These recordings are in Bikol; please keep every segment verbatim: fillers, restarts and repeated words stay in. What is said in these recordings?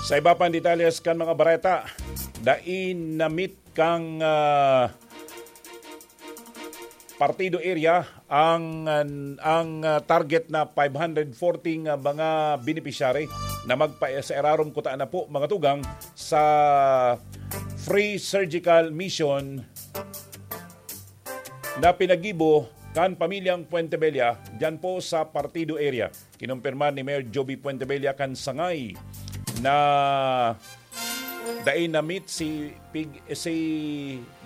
Sa iba pang detalles kan mga bareta, dai na-meet kan, ah, partido area ang, ang, ah, target na five hundred forty nga mga beneficiary na magpa-, sa irarom kuta na po, mga tugang, sa free surgical mission na pinagibo kan pamilyang Puentebella diyan po sa partido area. Kinumpirma ni Mayor Joby Puentebella kan sangay na dai na-meet si pig-, si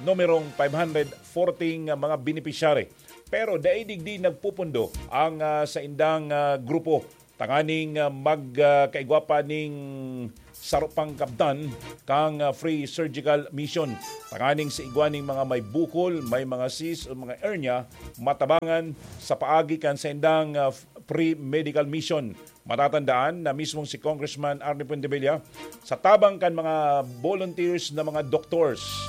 numerong five hundred forty nga mga beneficiary. Pero dai digdi nagpupundo ang, ah, saindang, ah, grupo tanganing, ah, mag, ah, kaigwa pa ning saro pang kabtan kang, ah, free surgical mission. Tanganing sa igwa ning mga may bukol, may mga cyst o mga hernia, matabangan sa paagi kan saindang, ah, free medical mission. Matatandaan na mismong si Congressman Arnie Puentebella, sa tabang kan mga volunteers na mga doctors,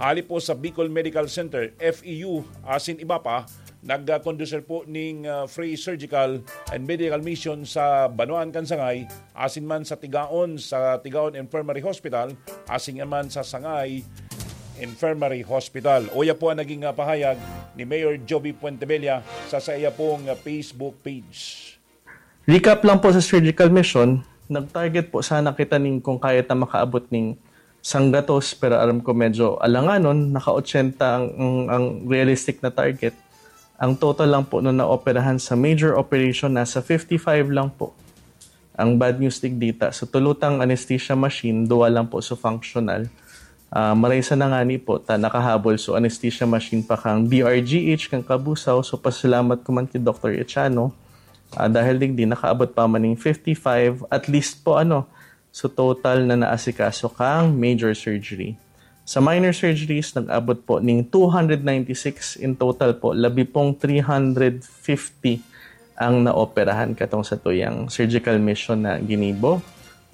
hali po sa Bicol Medical Center, F E U, asin iba pa, nag-conducir po ning, ah, free surgical and medical mission sa Banwaan kan Sangay, asin man sa Tigaon, sa Tigaon Infirmary Hospital, asin man sa Sangay Infirmary Hospital. Uya po ang naging, ah, pahayag ni Mayor Joby Puentebella sa saiya pong, ah, Facebook page. Recap lang po sa surgical mission, nag-target po sana kita ning kung kaya ta makaabot ning sanggatos, pero aram ko medyo alanganon, naka-ochenta ang, ang, ang realistic na target. Ang total lang po na naoperahan sa major operation, nasa fifty-five lang po. Ang bad news digdita, sa tulutang anesthesia machine, duwa lang po sa functional. Ah, maraysa na ngani po, ta nakahabol so anesthesia machine pa kang D R G H, kang Kabusaw. So, pasalamat ko man ki Doktor Echano. Ah, dahil digdi, nakaabot pa man ning fifty-five, at least po, ano, so total na naasikaso kang major surgery. Sa minor surgeries, nag-abot po ning two hundred ninety-six in total po, labi pong three hundred fifty ang naoperahan katong sa tuyang surgical mission na ginibo.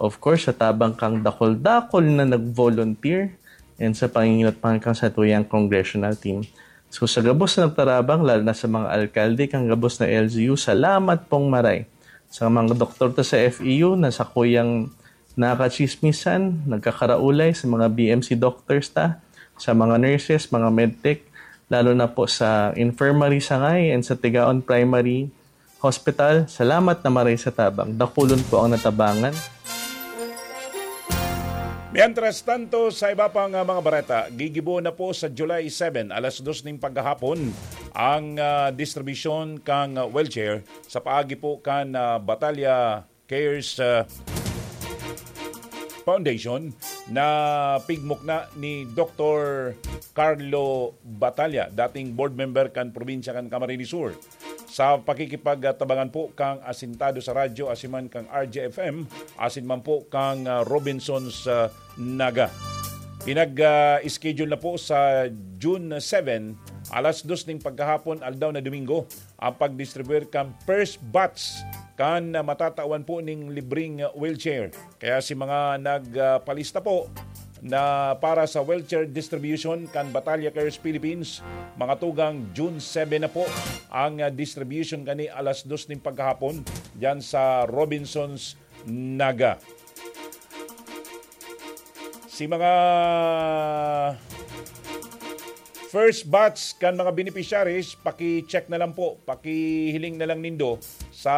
Of course, sa tabang kang dakol-dakol na nag-volunteer and sa panginginatmahan kang sa tuyang congressional team. So, sa gabos na nagtarabang, lalo na sa mga alkalde, kang gabos na L G U, salamat pong maray. Sa mga doktor ta sa F E U na sakuyang nakakachismisan, nagkakaraulay sa mga B M C doctors ta, sa mga nurses, mga medtech, lalo na po sa infirmary sangay and sa Tigaon Primary Hospital. Salamat na maray sa tabang. Dakulon po ang natabangan. Mientras tanto, sa iba pang, ah, mga bareta, gigibo na po sa July seven, alas dos ning paghahapon, ang, ah, distribusyon kang, ah, wheelchair sa paagi po kan, ah, Batalya Cares, ah, Foundation na pigmukna ni Doktor Carlo Batalla, dating board member kan probinsya kan Camarines Sur. Sa pakikipagtabangan po kang asintado sa radyo, asin man kang R J F M, asin man po kang, ah, Robinsons, ah, Naga. Pinag, ah, schedule na po sa June seven, alas dos ning pagkahapon, aldaw na Domingo, ang pagdistribuir kan first batch kan, ah, matatawan po ning libreng wheelchair. Kaya si mga nagpalista po na para sa wheelchair distribution kan Batalya Cares Philippines, mga tugang June seven na po ang, ah, distribution kani alas dos ning pagkahapon diyan sa Robinsons Naga. Si mga first batch kan mga beneficiaries, paki-check na lang po, pakihiling na lang nindo sa,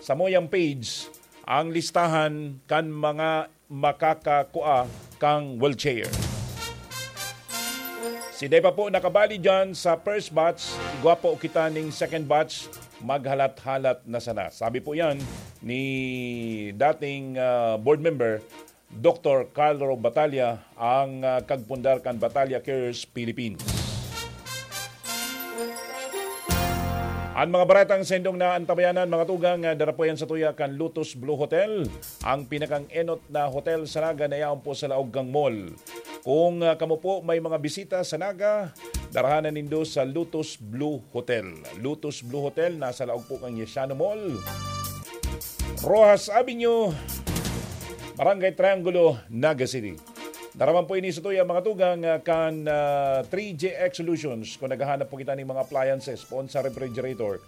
sa Moyang page ang listahan kan mga makakakua kang wheelchair. Si Dai pa po nakabali dyan sa first batch, igwa po kita ning second batch, maghalat-halat na sana. Sabi po yan ni dating, ah, board member, Doktor Carlo Batalla, ang, ah, kagpundar kan Batalla Cares Philippines. An mga baretang saindong naantabayanan, mga tugang, ah, dara po yan sa tuya kan Lotus Blue Hotel, ang pinakang enot na hotel sa Naga na yaon po sa laog kang mall. Kung, ah, kamo po may mga bisita sa Naga, darahan na nindo sa Lotus Blue Hotel. Lotus Blue Hotel, nasa laog po kang Yesiano Mall, Roxas Avenue, Barangay Triangulo, Naga City. Daraman po ini sa tuya, mga tugang, ah, kan, ah, three J X Solutions. Kung naghahanap po kita ning mga appliances, poon sa refrigerator,